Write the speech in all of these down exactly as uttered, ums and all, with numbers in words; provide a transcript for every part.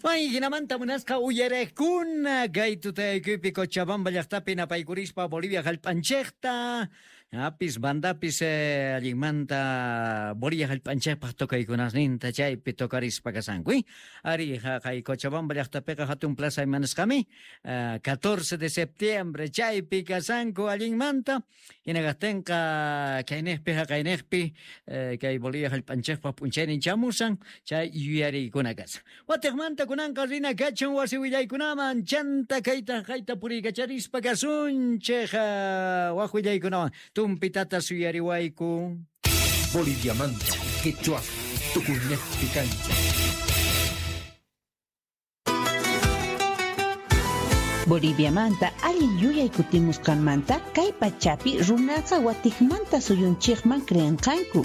May hinamanta munasqa uyarekuna kay tutayakuypi Cochabamba llaqtapi napaykurispa Bolivia hallp'anchikta apis bandapis eh, allinmanta Bolivia hallp'anchikpaq tocaykunasninta chaypi tocarispa kasanku eh? Ari haqay Cochabamba llaqtapiqa hatun plaza imanasqami eh, catorce de septiembre chaypi kasanku allinmanta hinakaqtinqa kayniqpi haqayniqpi eh, kay Bolivia hallp'anchikpaq p'unchaynin chamusan chay yuyariykuna kasan watiqmanta kunanqa rina kachun wasi willaykunaman chanta kayta kayta puriykacharispa kasunchik waq willaykunawan tumpitata suyariwayku. Boliviamanta, Quechua, Tukuñejpi kancha. Boliviamanta allin yuyay kutimusqanmanta kay pachapi runaqa watiqmanta suyunchikman creenqanku.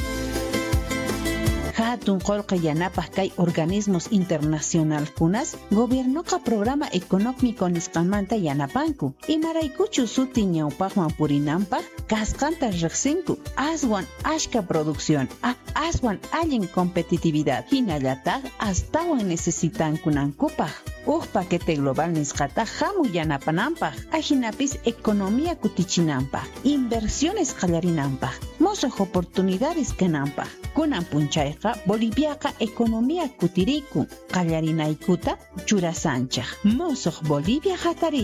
Hatun qullqi yanapaq kay organismos internacionalkunas gobiernoqa programa económico nisqanmanta yanapanku. Imaraykuchu suti ñawpaqman purinanpaq kasqanta riqsinku. Aswan ashka producción, a, aswan allin competitividad hinallataq astawan necesitankunankupaq. Uj paquete global nisqata hamu yanapananpaq, ajinapis economía kutichinanpaq, inversiones qallarinanpaq, mosuq oportunidades kananpaq. Kunan punchayqa Boliviaqa economía kutirikun, qallarinaykuta churasanchaq. Mosuq Bolivia hatarishan.